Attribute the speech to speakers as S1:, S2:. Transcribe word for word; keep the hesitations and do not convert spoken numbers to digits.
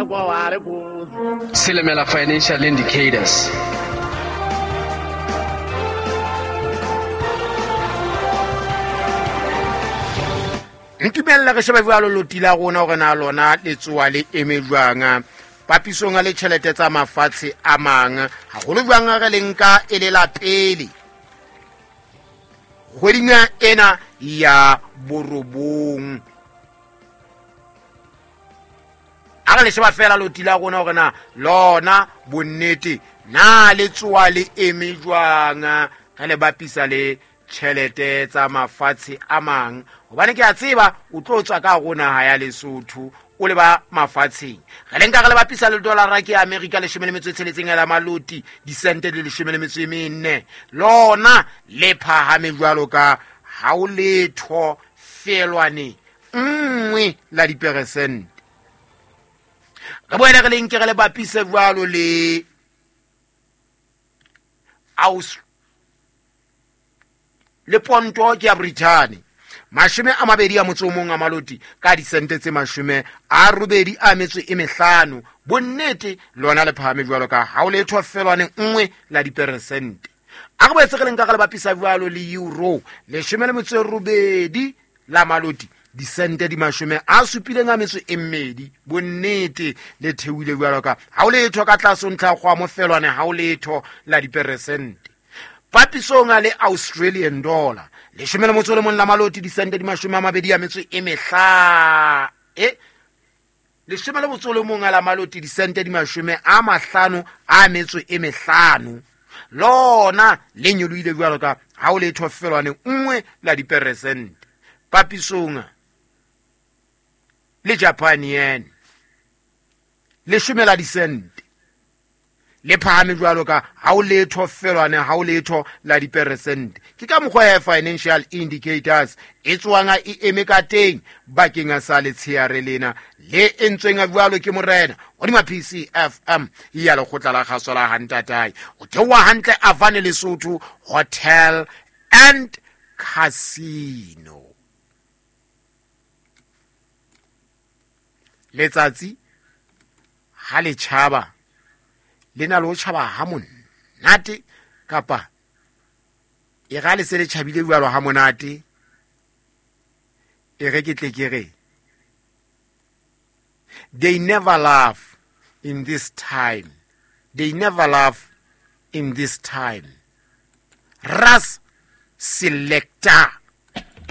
S1: Silimela Financial Indicators.
S2: Ntumella re shebe jwalo loti la rona hore na lona le tsoa le eme jwang papisong le tjhelete tsa mafatshe a mang, haholo jwang re le nka e le la pele kgweding ena ya borobong. A re le sheba fela loti la rona hore na lona bonnete na le tsoa le eme jwang re le bapisa le tjhelete tsa mafatshe a mang, hobane ke a tseba o tlo tswa ka rona ha ya Lesotho o le ba mafatsheng. Re le nka re le bapisa le dollar ke America leshome le metso e tsheletseng la maloti disente le leshome le metso e mene, lona le phahame jwalo ka ha o letho felwane nngwe la diperesente. Re boele re le nke re le bapise jwalo le aus le ponto ke ya Britain mashome a mabedi a motso o mong a maloti ka disente tse mashome a robedi a metso e mehlano, bonnete lona le phahame jwalo ka ha o letho felwane nngwe la diperesente. A re boetse re le nka re le bapisa jwalo le euro leshome le metso e robedi la maloti disente di mashome a supileng a metso e mmedi, bonnete le theohile jwalo ka ha o letho ka tlase ntlha kgwa mofelwane ha o letho la diperesente. Papisong le Australian dollar leshome le motso le mong la maloti disente di mashome a mabedi a metso e mehla e leshome le motso le mong la maloti disente di mashome a mahlano a metso e mehlano, lona le nyolohile jwalo ka ha o letho felwane nngwe la diperesente. Papisong le Japan yen leshome la disente le phahame jwalo ka ha o letho felwane ha o letho la diperesente. Ke ka mokgwa ya financial indicators e tswang e eme ka teng bakeng sa letsheare lena le entsweng jwalo ke morena hodima P C F M ya lekgotla la kgaso la Hantatae. O theoha hantle Avane Lesotho Hotel and Casino. Letsatsi ha le tjhaba le na le ho tjhaba ha monate kapa e ra le se le tjhabile jwalo ha monate, e re ke tle ke re they never laugh in this time, they never laugh in this time. Ras Selector.